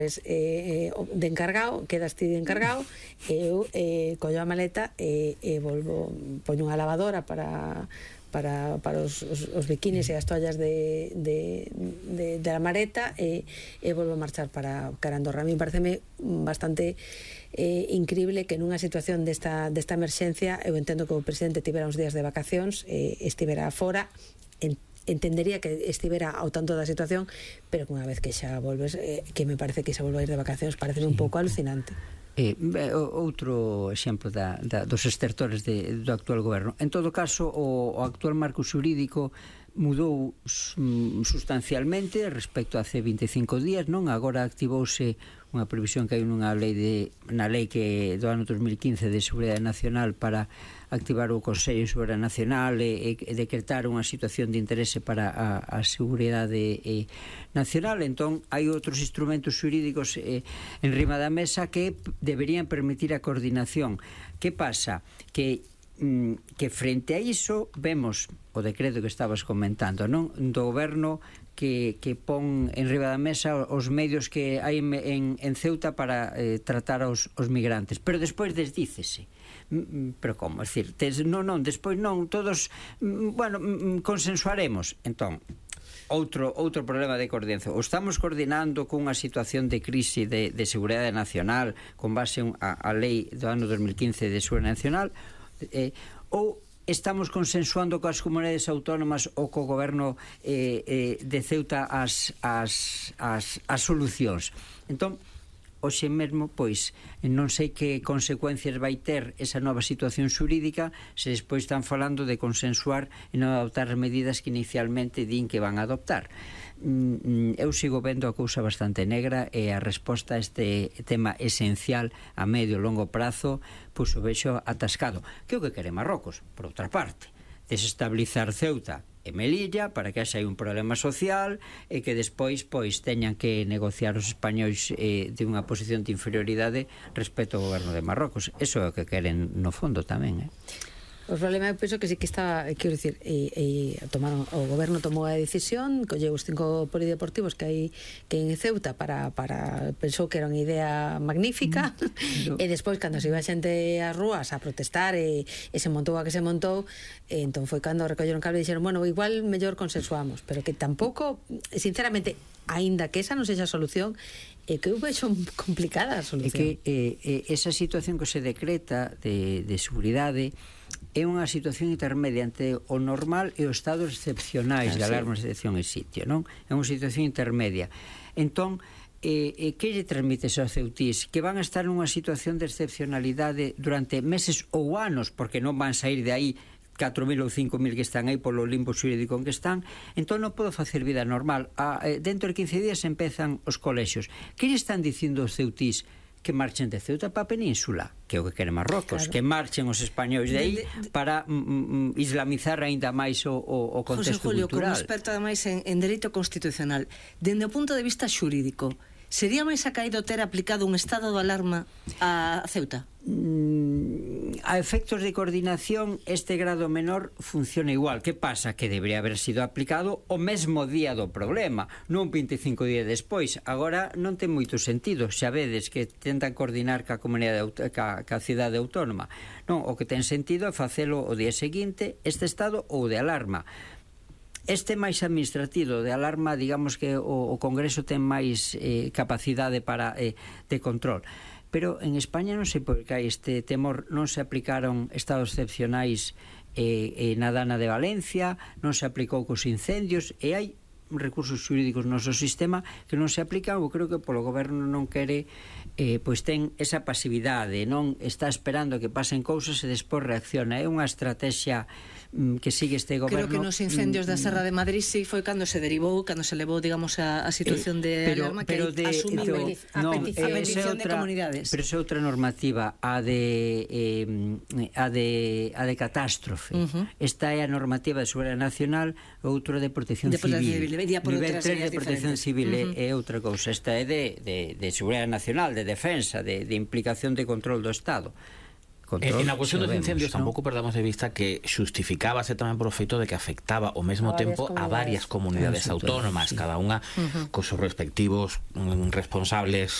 de encargado, quedas ti de encargado, e eu collo a maleta e volvo, poño unha lavadora para os bikinis e as toallas de la maleta e volvo a marchar para Andorra. A mí pareceme bastante increíble que nunha situación desta emerxencia, eu entendo que o presidente tivera uns días de vacacións, estivera fora, entendería que estivera ao tanto da situación, pero que unha vez que xa volves, que me parece que xa volve a ir de vacacións, parece un pouco alucinante. Outro exemplo dos estertores do actual goberno. En todo caso, o actual marco xurídico mudou sustancialmente respecto a hace 25 días, non? Agora activouse unha previsión que hai na lei que do ano 2015 de Seguridade Nacional para activar o Consello de Seguridade Nacional e decretar unha situación de interese para a seguridade nacional. Entón, hai outros instrumentos xurídicos en riba da mesa que deberían permitir a coordinación. Que pasa? Que frente a iso vemos o decreto que estabas comentando, non? Do goberno que pon en riba da mesa os medios que hai en Ceuta para tratar aos migrantes, pero despois desdícese. Pero como? É dicir, despois non, todos, consensuaremos. Entón, outro problema de coordinación. O estamos coordinando cunha situación de crise de seguridade nacional con base a lei do ano 2015 de seguridade nacional, ou estamos consensuando coas comunidades autónomas ou co goberno de Ceuta as solucións. Entón, hoxe mesmo, pois, non sei que consecuencias vai ter esa nova situación xurídica se despois están falando de consensuar e non adoptar as medidas que inicialmente din que van a adoptar. Eu sigo vendo a cousa bastante negra e a resposta a este tema esencial a medio e longo prazo, pois o vexo atascado. Que é o que quere Marrocos, por outra parte, desestabilizar Ceuta e Melilla para que haxa un problema social e que despois pois teñan que negociar os españois de unha posición de inferioridade respecto ao goberno de Marrocos. Eso é o que queren no fondo tamén, O problema é que sí que está, quero dicir, o goberno tomou a decisión, colleu os 5 polideportivos que hai en Ceuta pensou que era unha idea magnífica, e despois cando se iba a xente ás rúas a protestar e se montou a que se montou, entón foi cando recolleron cable e dixeron, bueno, igual mellor consensuamos, pero que tampouco, sinceramente, aínda que esa non sexa a solución, é que eu vexo complicada a solución. É que esa situación que se decreta de seguridade é unha situación intermedia entre o normal e os estados excepcionais de alarma, excepción e sitio, non? É unha situación intermedia. Entón, que lle transmite aos ceutís? Que van a estar nunha situación de excepcionalidade durante meses ou anos, porque non van sair de aí 4.000 ou 5.000 que están aí polo limbo xurídico en que están, entón non podo facer vida normal. Dentro de 15 días empezan os colexios. Que lle están dicindo os ceutís? Que marchen de Ceuta para a península, que é o que quere Marrocos, claro. Que marchen os españois de aí para islamizar aínda máis o contexto José Julio, cultural. Como experto ademais en dereito constitucional, dende o punto de vista xurídico, sería máis acaído ter aplicado un estado de alarma a Ceuta? A efectos de coordinación, este grado menor funciona igual. Que pasa? Que debería haber sido aplicado o mesmo día do problema, non 25 días despois. Agora non ten moito sentido, xa vedes que tentan coordinar ca comunidade, ca cidade autónoma. Non, o que ten sentido é facelo o día seguinte, este estado ou de alarma. Este máis administrativo de alarma, digamos que o Congreso ten máis capacidade de control. Pero en España non sei por que hai este temor, non se aplicaron estados excepcionais na Dana de Valencia, non se aplicou cos incendios, e hai recursos xurídicos no noso sistema que non se aplican, ou creo que polo goberno non quere, pois ten esa pasividade, non está esperando que pasen cousas e despois reacciona. É unha estrategia que sigue este goberno. Creo que nos incendios da Serra de Madrid sí foi cando se derivou, cando se levou, digamos, a situación de alarma que asumiu a petición de comunidades. Pero é outra normativa, a de catástrofe. Esta é a normativa de seguridade nacional, outra de protección civil. Nivel 3 de protección civil é outra cousa. Esta é de seguridade nacional, de defensa, de implicación de control do Estado. control. En a cuestión dos incendios tampouco perdamos de vista que xustificábase tamén por o feito de que afectaba ao mesmo tempo a varias comunidades autónomas, cada unha cos seus respectivos responsables